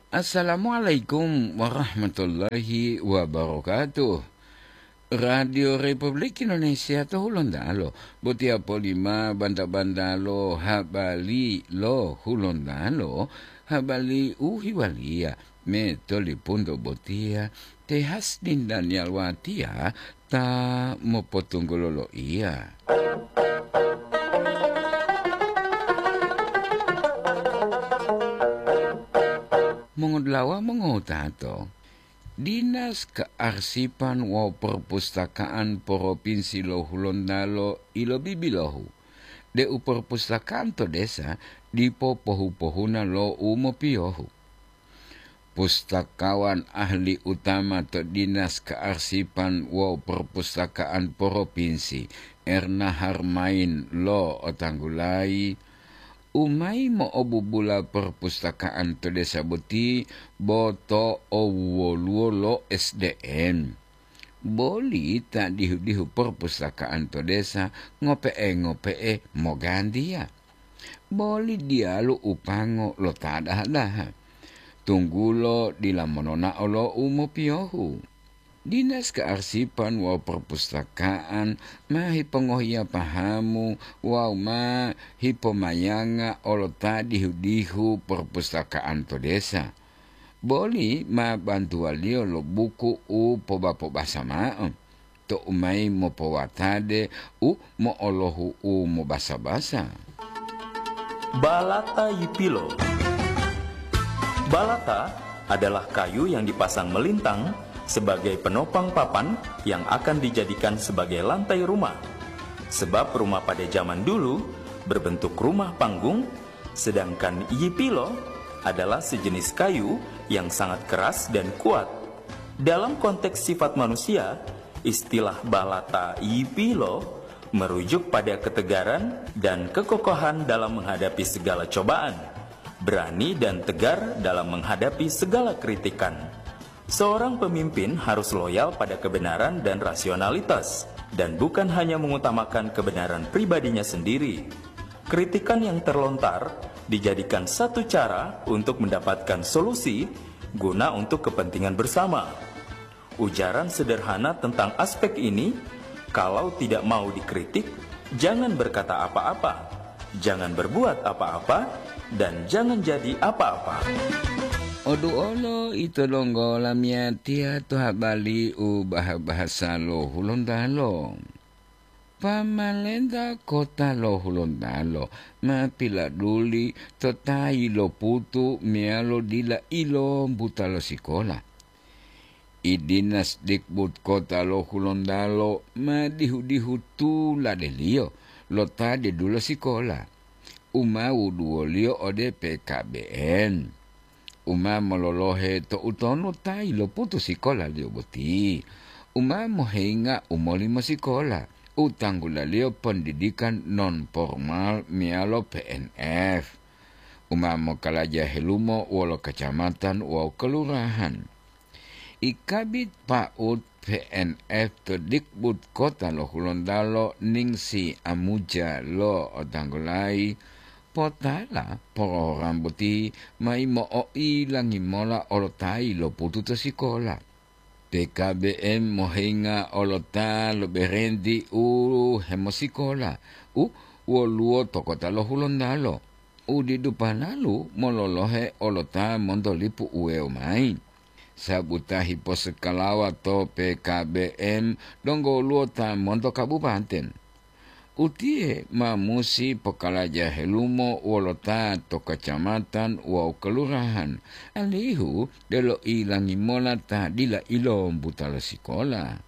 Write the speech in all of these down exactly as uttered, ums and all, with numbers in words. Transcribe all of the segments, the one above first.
Assalamualaikum warahmatullahi wabarakatuh. Radio Republik Indonesia to Hulontalo, botiya polima banta-bantalo habari lo Hulontalo, habari u hiwaliya me tolipunto botiya, te Hasdin Daniel Watiya ta mopotunggulo loiya. Mongodulawa mongowutato, Dinas Kearsipan wawu Perpustakaan Propinsi lo Hulontalo ilobibilohu deu perpustakaan to desa dipo pohu-pohuna lo u mopiyohu. Pustakawan ahli utama to Dinas Kearsipan wawu Perpustakaan Propinsi, Erna Harmain, lo'otanggulayi u mayi mo'obubula perpustakaan to desa boti bo to owuwoluwo lo S D M. Boli ta dihu-dihu perpustakaan to desa ngope'e-ngope'e mogantiya. Boli diyalu upango lo ta daha-daha, tunggulo dila mononao lo u mopiyohu. Dinas Kearsipan wawu Perpustakaan ma hipongohiya pahamu wawu ma hipomayanga olo ta dihu-dihu perpustakaan to desa. Boli ma bantuwaliyo lo buku u poba-pobasa ma'o, to u mayi mopowatade u mo'olohu u mobasa-basa. Balata Yipilo. Balata adalah kayu yang dipasang melintang sebagai penopang papan yang akan dijadikan sebagai lantai rumah. Sebab rumah pada zaman dulu berbentuk rumah panggung, sedangkan yipilo adalah sejenis kayu yang sangat keras dan kuat. Dalam konteks sifat manusia, istilah balata yipilo merujuk pada ketegaran dan kekokohan dalam menghadapi segala cobaan, berani dan tegar dalam menghadapi segala kritikan. Seorang pemimpin harus loyal pada kebenaran dan rasionalitas, dan bukan hanya mengutamakan kebenaran pribadinya sendiri. Kritikan yang terlontar dijadikan satu cara untuk mendapatkan solusi guna untuk kepentingan bersama. Ujaran sederhana tentang aspek ini, kalau tidak mau dikritik, jangan berkata apa-apa, jangan berbuat apa-apa, dan jangan jadi apa-apa. Oduolo ito donggo lamiyatiya to habari u bahasa lo Hulontalo. Pamalenta kota lo Hulontalo ma piladuli to ta yiloputu meyalo dila ilombuta lo sikola. I Dinas Dikbud Kota lo Hulontalo ma dihu-dihu tuladeliyo lo ta didulo sikola, u ma wuduwoliyo ode P K B M, u ma mololohe to utonu ta yiloputu sikolaliyo boti, u ma mohinga u molimo sikola, u tanggulaliyo pondidikan non formal meyalo P N F, u ma mokalaja helumo wolo kacamatan wawu kelurahan. I Kabid Paut P N F to Dikbud Kota lo Hulontalo Ningsi Amuja lo'otanggulayi potala porogram boti mayi mo'oilangi mola olo ta yiloputu to sikola. P K B M mohinga olo ta lo berenti u hemosikola u woluwo to kota lo Hulontalo, u didu panalu mololohe olo ta monto lipu uwewo mayi, sabu ta hiposekalawa to P K B M donggo woluwo ta monto kabupaten. Utiye ma musi pokalaja helumo wolo ta to kacamatan wawu kelurahan, alihu delo ilangi mola ta dila ilombuta lo sikola.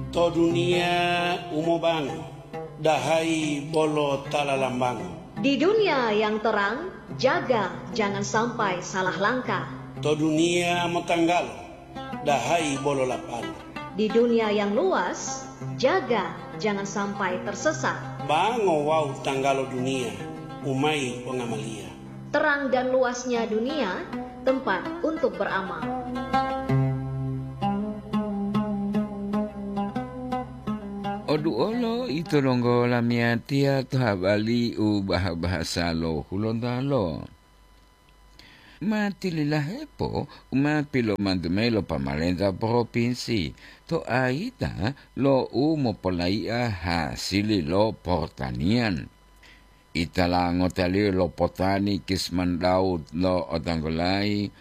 To duniya u mobango, dahayi bolo ta lalambango. Di dunia yang terang, jaga jangan sampai salah langkah. To duniya motanggalo, dahayi bolo lapalo. Di dunia yang luas, jaga jangan sampai tersesat. Bango wawu tanggalo duniya, u mayi pongamaliya. Terang dan luasnya dunia, tempat untuk beramal. Oduolo ito donggo lamiyatiya to habari u baha-bahasa lo Hulontalo. Ma tililahepo u ma pilomantu mayi lo pamalenta propinsi to ayita lo u mopolai'a hasili lo portanian. Itala ngotaliyo lo potani Kisman Daud lo Otanggolayi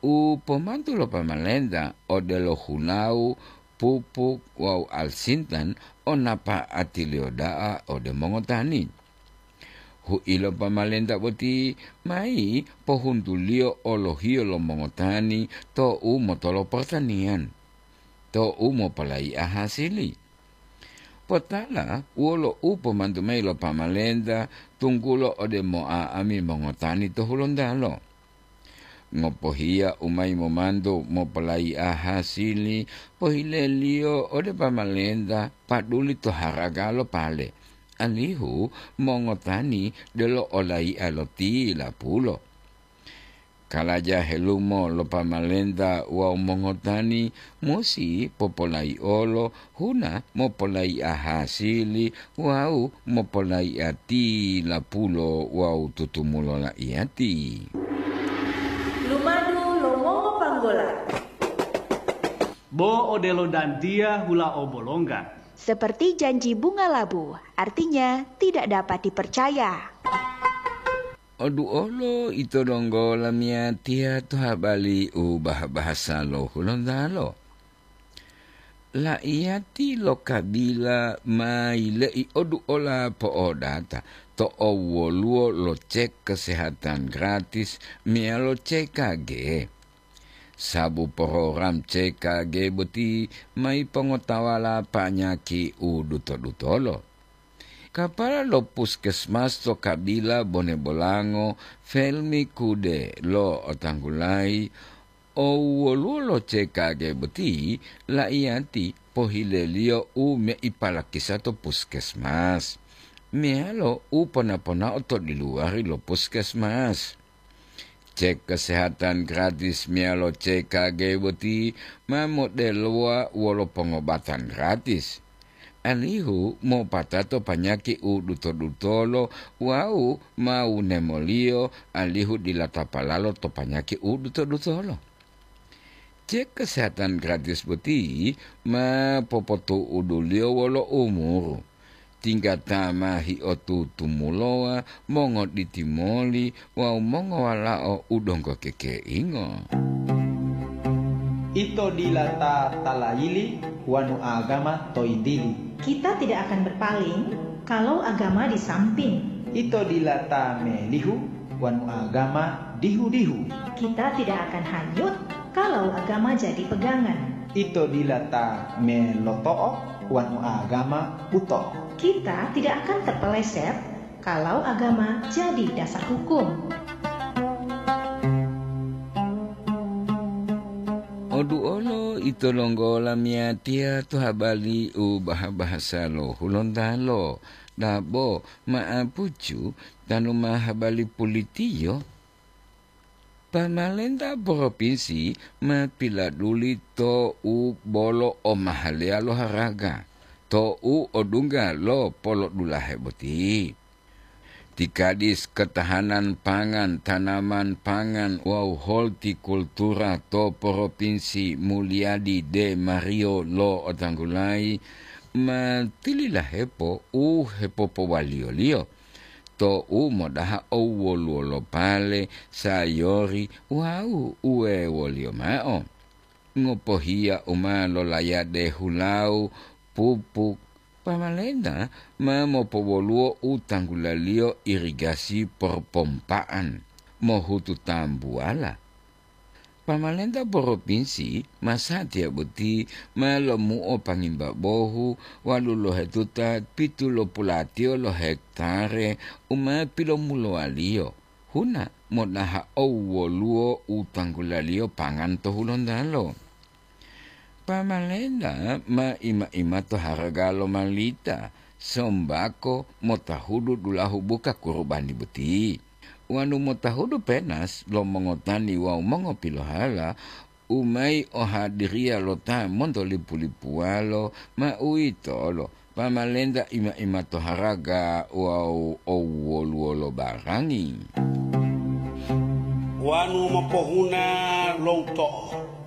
u pomantu lo pamalenta odelo hulau, pupuk wawu alsintan o napa'atiliyo da'a ode mongotani. Hu'ilo pamalenta boti mayi pohuntuliyo olohiyo lo mongotani to u motolo portanian, to u mopolai'a hasili. Potala wolo u pomantu mayi lo pamalenta tunggulo ode moa'ami mongotani to Hulontalo. Ngopohiya u mayi momantu mopolai'a hasili, pohileliyo ode pamalenta paduli to haraga lo pale, alihu mongotani delo olai'a lo tilapulo. Kalaja helumo lo pamalenta wawu mongotani musi popolaiolo huna mopolai'a hasili wawu mopolai'a tilapulo wawu tutumulo la'iyati. Lumadu lo mongopanggola. Bo odelo dantiya hula obolongga. Seperti janji bunga labu, artinya tidak dapat dipercaya. Oduolo ito donggo lamiyatiya to habali u bah-bahasa lo Hulontalo. La'iyati lo Kabila ma yile'i oduola po'odata to owwoluwo lo cek kesehatan gratis meyalo C K G. Sabu program C K G boti ma yipongotawala panyaki u duto-dutolo. Kapala lo puskesmas to Kabila Bone Bolango, Felmi Kude lo otanggulayi, owwoluwo lo C K G boti la'iyati pohileliyo u meipalakisa to puskesmas, meyalo u pona-ponao to diluwari lo puskesmas. Cek kesehatan gratis meyalo C K G boti ma modelowa wolo pongobatan gratis, alihu mopatato panyaki u duto-dutolo wawu ma wunemoliyo, alihu dila tapalalo to panyaki u duto-dutolo. Cek kesehatan gratis boti ma popotu'uduliyo wolo umuru. Tinggata ma hiotutumulowa, mongoditi moli wawu mongowalao u donggo kekeingo. Ito dila ta talayili wanu agama to yitili. Kita tidak akan berpaling kalau agama di samping. Ito dila ta melihu wanu agama dihu-dihu. Kita tidak akan hanyut kalau agama jadi pegangan. Ito dila ta meloto'o wanu agama buto'o. Kita tidak akan terpeleset kalau agama jadi dasar hukum. Oduolo ito longgo lamiyatiya to habali u baha-bahasa lo Hulontalo, dabo ma'apucu tanu ma habali pulitiyo. Pamalenta propinsi ma piladuli to u bolo omahaleya lo haraga, to u odungga lo polodulahe boti. Ti Kadis Ketahanan Pangan, Tanaman Pangan wawu Holtikultura to Propinsi Mulyadi De Mario lo otanggulayi ma tililahepo u hepopowaliyo-liyo to u modaha owwoluwo lo pale, sayori wawu uwewoliyo mao. Ngopohiya u ma lolayade hulawu, pupuk, pamalenta ma mopowoluwo u tanggulaliyo irigasi porpompa'an mohutu tambuwala. Pamalenta poropinsi masatiya boti ma lomuo pangimba bohu walu lohetuta pitu lo pulatiyo lo hektare u ma pilomulowaliyo huna modaha owwoluwo u tanggulaliyo pangan to Hulontalo. Pamalenta ma ima-imato haraga lo malita, sombako motahudu dulahu buka kurubani boti, wonu motahudu penas lo mongotani wawu mongopilohala u mayi ohadiriya lo ta montolipu-lipuwalo, ma uwitolo pamalenta ima-imato haraga wawu owwoluwolo barangi. Wanu mopohuna lo uto'o.